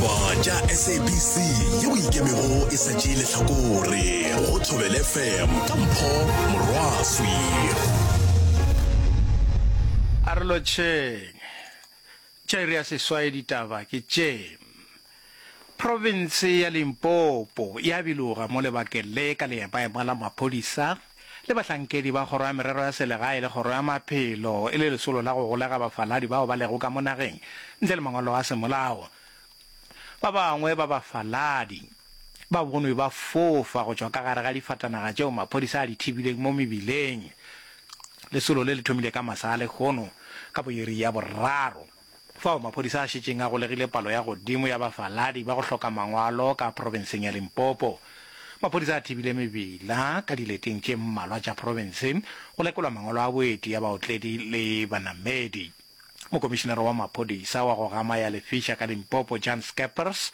Ditaba tša SABC yeo ikemego e sa tšee lehlakore go Thobela FM ka Mpho Morwaswi. A re lotšheng. Tša iri ya seswai ditaba ke tše. Profense ya Limpopo ya biloga mo lebakeng le ka leemaema la maphodisa le bahlankedi ba Kgoro ya Merero ya Selegae le Kgoro ya Maphelo e le lesolo la go golega bafaladi bao ba lego ka mo nageng ntle le mangwalo a semolao. Ba bangwe ba bafaladi ba bonwe ba fofa go tšwa ka gare ga difatanaga tšeo maphodisa a di thibileng mo mebileng. Lesolo le le thomile ka masa a lehono ka bo iri ya boraro. Fao maphodisa a šetšeng a golegile palo ya godimo ya bafaladi ba go hloka mangwalo ka profenseng ya Limpopo. Maphodisa a thibile mebila ka dileteng tše mmalwa tša profense go lekolwa mangwalo a boeti ya baotledi le banamedi. Mokomišenare wa maphodisa wa go gama ya lefiša ka Limpopo Jan Scheppers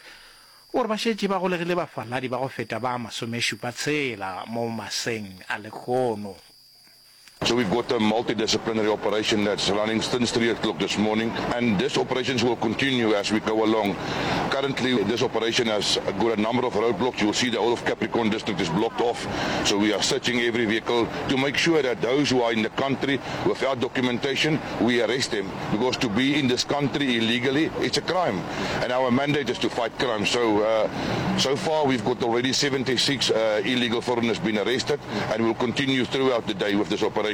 o re ba šetše ba golegile bafaladi ba go feta ba masomešupa tshela mo maseng a lehono. So we've got a multidisciplinary operation that's running since 3 o'clock this morning, and this operations will continue as we go along. Currently, this operation has got a number of roadblocks. You'll see the whole of Capricorn district is blocked off. So we are searching every vehicle to make sure that those who are in the country without documentation, we arrest them. Because to be in this country illegally, it's a crime. And our mandate is to fight crime. So, uh, so far we've got already 76 uh, illegal foreigners been arrested. And we'll continue throughout the day with this operation.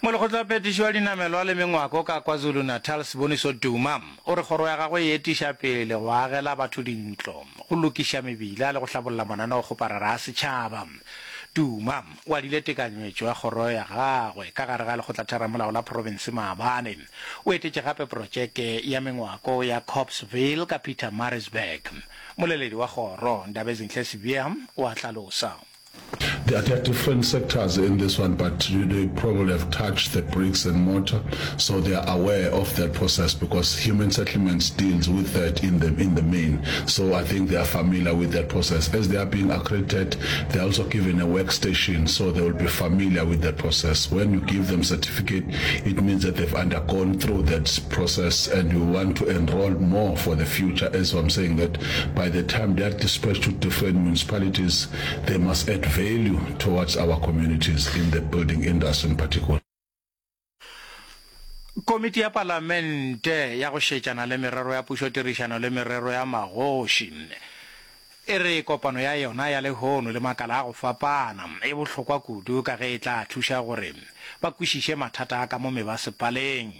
Molekgotlaphethiši wa dinamelwa le mengwako ka KwaZulu-Natal Siboniso Duma o re kgoro ya gagwe e etiša pele go agela batho dintlo, go lokiša mebila le go hlabolla mananeokgoparara a setšhaba. Duma o adile tekanyetšo ya kgoro ya gagwe ka gare ga lekgotlatheramolao la profense maabane. O etetše gape protšeke ya mengwako ya Copsville ka Pietermaritzburg. Moleledi wa kgoro, Ndabezinhle Sibiya, o a hlalosa. There are different sectors in this one but they probably have touched the bricks and mortar so they are aware of that process because human settlements deals with that in the in the main so I think they are familiar with that process. As they are being accredited they are also given a workstation so they will be familiar with that process. When you give them certificate it means that they've undergone through that process and we want to enroll more for the future as I'm saying that by the time they are dispatched to different municipalities they must add value towards our communities in the building industry in particular. Komiti ya Palamente ya go šetšana le merero ya pušotirišano le merero ya magoši e re kopano ya yona ya lehono le makala a go fapana e bohlokwa kudu ka ge e tla thuša gore ba kwešiše mathata a ka mo mebasepaleng.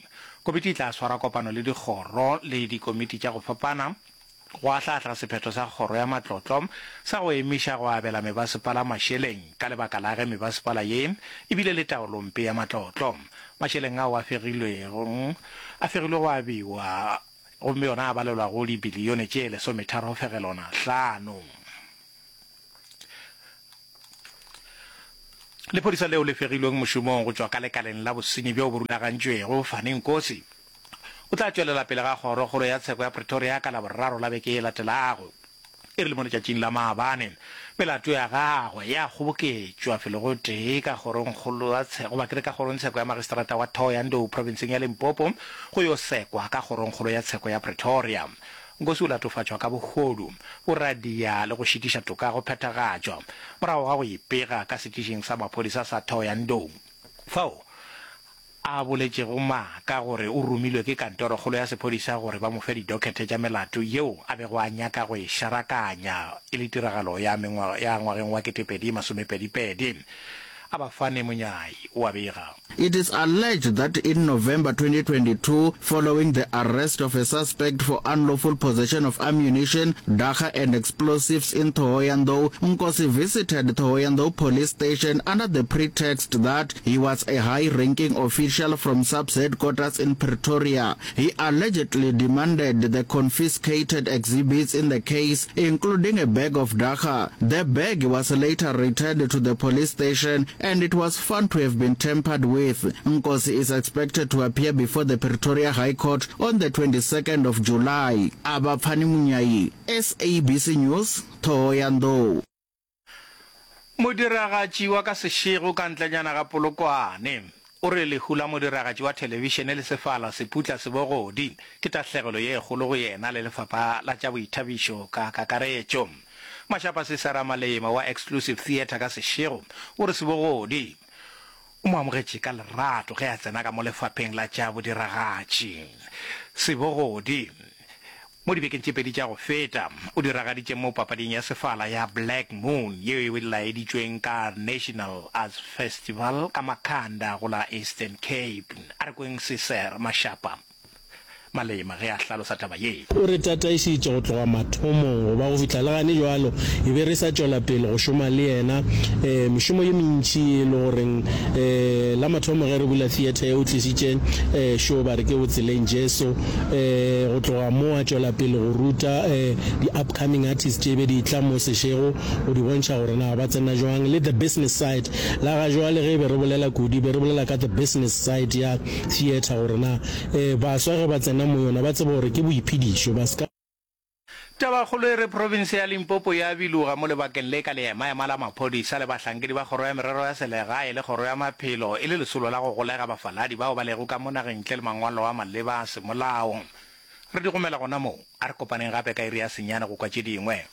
Komiti e tla swara kopano le dikgoro le dikomiti tša go fapana go ahlaahla sephetho sa Kgoro ya Matlotlo sa go emiša go abela mebasepala mašeleng ka lebaka la ge mebasepala ye e bile le taolompe ya matlotlo. Mašeleng ao a fegilwego a fegilwe go abiwa gomme yona a balelwa go dibilione tše lesometharo fegelwana hlano. Lephodisa leo le fegilweng mošomong go tšwa ka lekaleng la bosenyi bjo bo rulagantšwego, Fani Nkosi, o tla tšwelela pele ga Kgorokgolo ya Tsheko ya Pretoria ka Laboraro la beke e latelago. E rile mo letšatšing la maabane, melato ya gagwe ya kgoboketšwa felo gotee ka kgorongkgolo ya tsheko, goba ke re ka kgorongtsheko ya magistrata wa Thohoyandou profenseng ya Limpopo go yo sekwa ka kgorongkgolo ya tsheko ya Pretoria. Nkosi o latofatšwa ka bohodu, boradia le go šitiša toka go phethagatšwa morago ga go ipega ka setišing sa maphodisa sa Thohoyandou fao a boletšego maaka gore o romilwe ke kantorokgolo ya sephodisa gore ba mo fe didokete tša melato yeo a bego a nyaka go e šarakanya e le tiragalo ya ya ngwageng wa 2022. Abafane Monyai o a bega. It is alleged that in November 2022, following the arrest of a suspect for unlawful possession of ammunition, dagga and explosives in Thohoyandou, Nkosi visited Thohoyandou police station under the pretext that he was a high-ranking official from SAPS headquarters in Pretoria. He allegedly demanded the confiscated exhibits in the case, including a bag of dagga. The bag was later returned to the police station and it was found to have been tampered with. Nkosi is expected to appear before the Pretoria High Court on the 22nd of July. Abapfani Munyai, SABC News, Thohoyandou. Modiragatši wa ka sešego ka ntlenyana ga Polokwane. o re lehu la modiragatši wa thelebišene le sefala Seputla Sebogodi ke tahlegelo ye kgolo go yena le lefapha la tša boithabišo ka kakaretšo. Mashapa Sisera Malema wa Exclusive Theatre ka Seshego o re Sebogodi o mo amogetše ka lerato ge a tsena ka mo lefapheng la tša bodiragatši. Sebogodi Mo dibekeng tše pedi tša go feta, o diragaditše mo papading ya sefala ya Black Moon yeo e laeditšweng ka National Arts Festival ka Makhanda go la Eastern Cape. A re kweng Cesar Mashapa Malema ge a hlalosa taba ye. O re tataišitše go tloga mathomong go ba go fihla le gane jwalo, e be re sa tšwela pele go šoma le yena mešomo ye mentši e le goreng la mathomo ge re bula theatre ye o tlišitše show ba re ke Botseleng Jesu. Go tloga moo a tšwela pele go ruta di-upcoming artists tše be di tla mo Seshego go di bontšha gore na ba tsena jwang le the business side. La ga jwale ge e be re bolela kudu e be re bolela ka the business side ya theatre gore na baswa ge ba tsena mo yona ba tsebe gore ke boiphedišo ba ska Tabakgolo e re profense ya Limpopo ya biloga mo lebakeng le ka leemaema la maphodisa le bahlankedi ba Kgoro ya Merero ya Selegae le Kgoro ya Maphelo e le lesolo la go golega bafaladi bao ba lego ka mo nageng ntle le mangwalo a maleba a semolao. Re di gomela gona mo. A re kopaneng gape ka iri ya senyane go kwa tše dingwe.